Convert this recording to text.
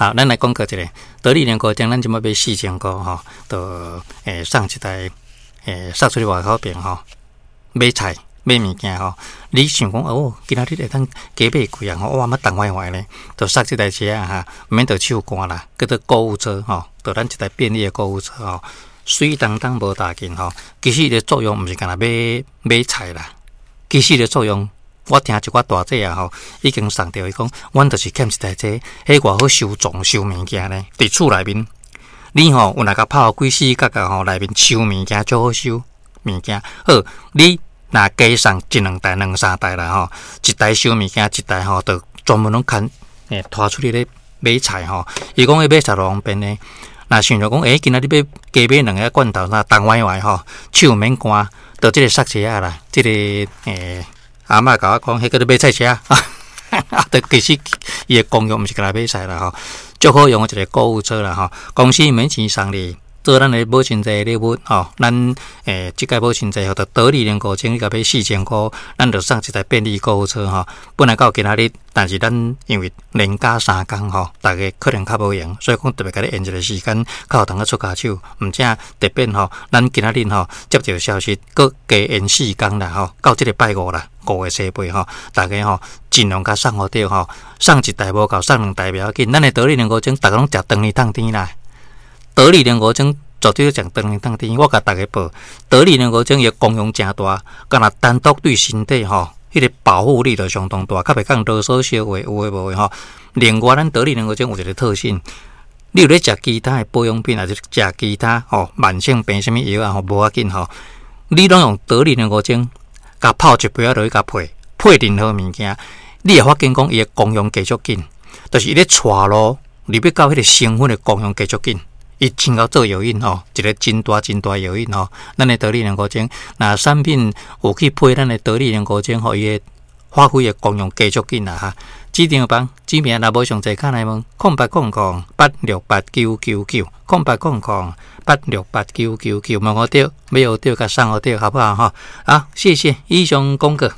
好，咱來廣告一下，得力兩五鐘，咱這擺買4000箍吼，就送一台送出去外口邊吼，買菜買物件吼。你想講哦，今仔日會當加買幾樣吼，哇，嘛重壞壞咧，就送這台車啊哈，毋免著手汗啦，叫做購物車吼，就咱一台便利的購物車吼，媠當當無大件吼。其實伊的作用毋是干焦買買菜啦，其實伊的作用，我聽一寡大姐啊吼，已經送著伊講，阮就是欠一台這，彼偌好收藏收物件咧，佇厝內面，你吼有若共拍予規四角角吼，內面收物件足好收物件。好，你若加送一兩台、兩三台啦吼，一台收物件，一台吼就專門攏牽拖出去咧買菜吼。伊講彼買菜偌方便呢？若想著講，今仔日欲加買兩个罐頭啥，重歪歪吼，手免汗，就這個剎車仔啦，這個阿嬤共我講，彼叫做買菜車，啊，就其實伊的功用毋是干焦買菜啦吼，足好用的一個購物車啦吼。公司免錢送你，做咱的母親節禮物吼。咱這屆母親節吼，就得力兩五千，你共買四千箍，咱就送一台便利購物車吼。本來到今仔日，但是咱因為連假三工吼，逐家可能較無閒，所以講特別共你延一個時間，較有通仔出跤手。毋正特別吼，咱今仔日吼接著消息，閣加延四工啦吼，到這個拜五啦，5月初8吼，逐家吼盡量共送予著吼，送一台無夠，送兩台袂要緊。咱的得力兩五鐘，逐家攏食長年痛甜啦。得力兩五鐘絕對食長年痛甜，我共逐家報，得力兩五鐘伊的功用誠大，干焦單獨對身體吼，彼個保護力就相當大，較袂講囉嗦小話有的無的吼。另外，咱得力兩五鐘有一個特性，你有咧食其他的保養品，還是食其他吼慢性病啥物藥啊吼，無要緊吼，你攏用得力兩五鐘，共泡一杯仔落去，共配配任何物件，你會發現講伊的功用加足緊，就是伊咧帶路入去到彼個成分的功用加足緊。伊真𠢕做藥引吼，一個真大真大藥引吼。咱的得力兩五鐘，若產品有去配咱的得力兩五鐘，予伊的發揮的功用加足緊啦哈。指定房指名若無上濟，敲來問0800868999，0800868999，問予著，買予著，共送予著，好不好哈？好，謝謝，以上廣告。